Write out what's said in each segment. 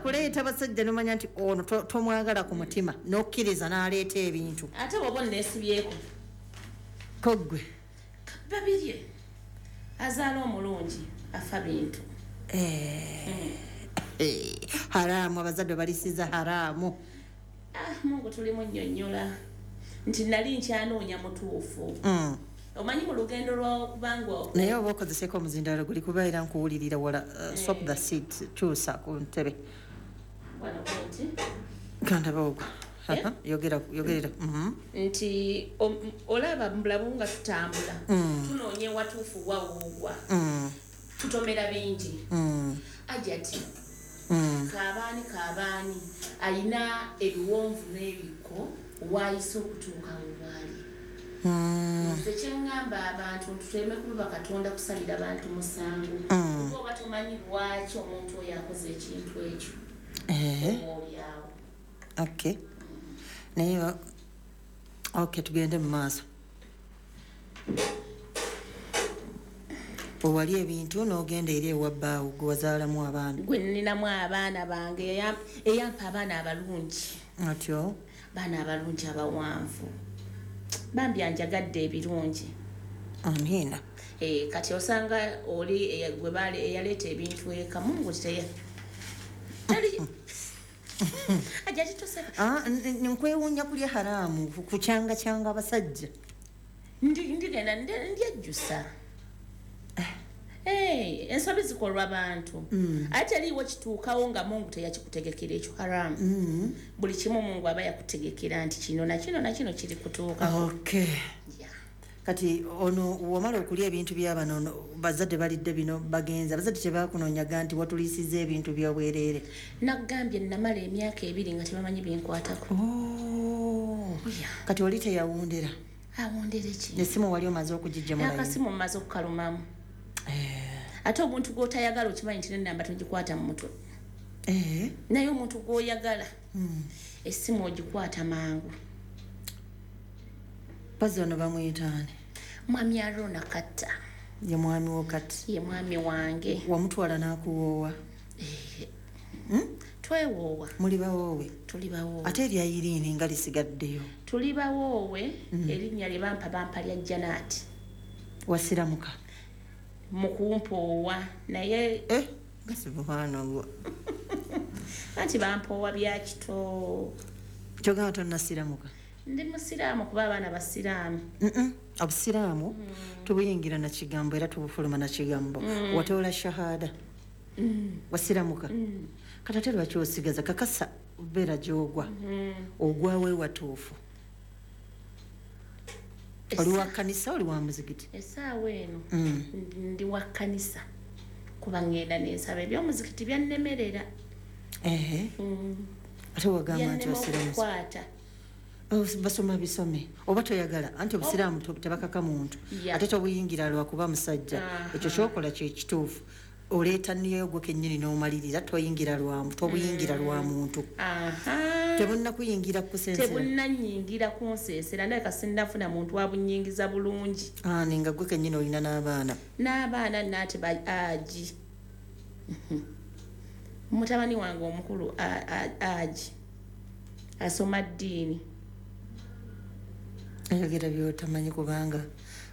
Kuleeta basajja nomanya nti ono tomwagala ku mutima, n'okkiriza n'aleeta ebintu. Ate bwoba onneesibyeko. Koggwe. Babirye azaala omulungi afa bintu. Haramu, abazadde balisiza haramu. Ah, Mungu tulimu nnyonnyola nti nali nkyanoonya mutuufu. Omanyi mu lugendo lw'okubanga Naye oba okozeseko omuzindalo guli kubeera nkuwulirira wala. Swap the seat, kyusa ku ntebe. Wano nti Kandaba ogwo. Eh? Aha, yogera, yogerera. Nti olaba mu bulamu nga tutambula, tunoonya ewatuufu wawoogwa, tutomera bingi. Ajati kaabaani kaabaani ayina ebiwonvu n'ebikko waayise okutuuka wewaali. Nze kyeŋŋamba abantu nti tuleme kuba Katonda kusalira bantu musango, kuba oba tomanyi lwaki omuntu oyo akoze ekintu ekyo, oba oliawo. Okay, naye okay, tugende mu maaso. Owali ebintu n'ogenda eri ewa bbaawo gwe wazaalamu abaana. Gwe nninamu abaana bange, eyampa abaana abalungi. Atyo. Baana abalungi abawanvu, bambi anjagadde ebirungi. Amiina. Eh, kati osanga oli gwe eyaleeta ebintu eka, Mungu teya tali ajja titoseka. Ah, nkwewuunya kulya haramu kucyangacyanga abasajja. Ndigenda ndyejjusa. Eh, ensobi zikolwa bantu, ate teriiwo kituukawo nga Mungu teyakikutegekera ekyo haramu. Buli kimu Mungu aba yakutegekera nti kino nakino nakino kiri kutuukako. Yeah. Kati ono wamala okulya ebintu byabano, ono bazadde balidde bino bagenze, abazadde tebakunoonyaga nti watuliisiza ebintu byobwereere? Nagambye namala emyaka 2 nga tebamanyi binkwatako. Oh. Yeah. Kati oli teyawundera? Awondere ki? Nesimu wali omaze okugijja mulayi? Akasimu mmaze okukalumamu. Ate omuntu gw'otayagala okimanyi nti nenamba togikwata mu mutwe, naye omuntu gw'oyagala essimu ogikwata mangu. Pazi ono bamuyitaani? Mwami Arona Katta. Ye mwami wo kati? Ye mwami wange. Wamutwala n'akuwoowa? Eh, twewoowa. Muli bawoowe? Tuli bawoowe. Ate erya Iriini nga lisigaddeyo? Tuli bawoowe. Erinnya lye bampa, bampa lya Janaati. Wasiramuka? Mu kumpoowa naye. Eh, nga subhanallah. Anti bampoowa bya kito. Kyogamba tonnasiramuka? Ndi musiraamu kuba abaana basiraamu. Obusiraamu tubuyingira na kigambo era tubufuluma na kigambo. Watoola shahada, wasiramuka, kati ate lwaki osigaza? Kakasa beera gyogwa, ogwawo ewatuufu. Oli wa kanisa, oli wa muzigiti? Essaawa eno ndi wa kkanisa kuba ŋŋenda nensaba. Ebyomuzikiti byannemerera. Ehe, ate wagamba nti Byannema osiramuse. okukwata. Oh, basoma bisome oba toyagala, anti obusiraamu tebakaka muntu. Ate tobuyingira lwakuba musajja. Ekyo kyokola kyekituufu, oleeta niyo gwe kennyini n'omalirira, toyingira lwa tobuyingira lwa muntu. Tebunnakuyingira kukusensera? Tebunnanyingira kunseesera, ndabika sinnafuna muntu wabunyingiza bulungi. Ani nga gwe kennyini olina n'abaana? N'abaana naate ba agi mutabani wange omukulu agi asoma ddiini. Ayogera byotamanyi, kubanga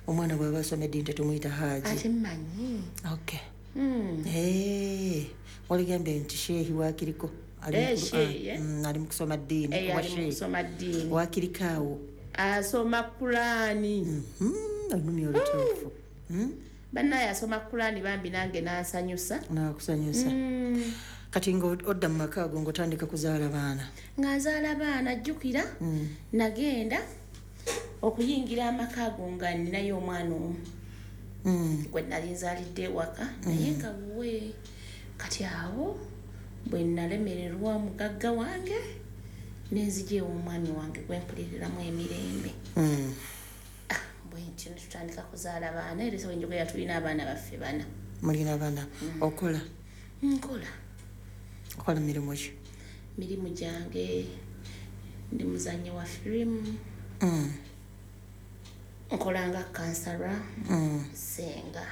omwana bw'aba asoma eddiini tetumuyita haaji. Ate mmanyi. Okay. Eh, waligambye nti sheehi wakiriko ali mu Eh, sheehi, eh? Ali mu kusoma ddiini. Eh, Oba ali mu sheehi. kusoma ddiini. Wakiriko awo. Asoma Kulaani. Olulimi olutuufu. Bannaye asoma Kulaani bambi, nange nansanyusa. Nakusanyusa. Kati nga odda mu maka ago ng'otandika kuzaala baana? Nga nzaala baana. Jjukira nagenda okuyingira amaka ago nga ninayo omwana omu gwe nali nzaalidde ewaka, naye nga wuwe. Kati awo bwe nalemererwa mugagga wange, nenzija ew'omwami wange gwe mpuliriramu emirembe. Ah, bwe ntyo netutandika kuzaala baana, era wenjogera tulina abaana baffe bana. Mulina baana. Okola? Nkola. Okola mirimu ki? Mirimu gyange, ndi muzannyi wa firimu, nkola nga kansala, senga.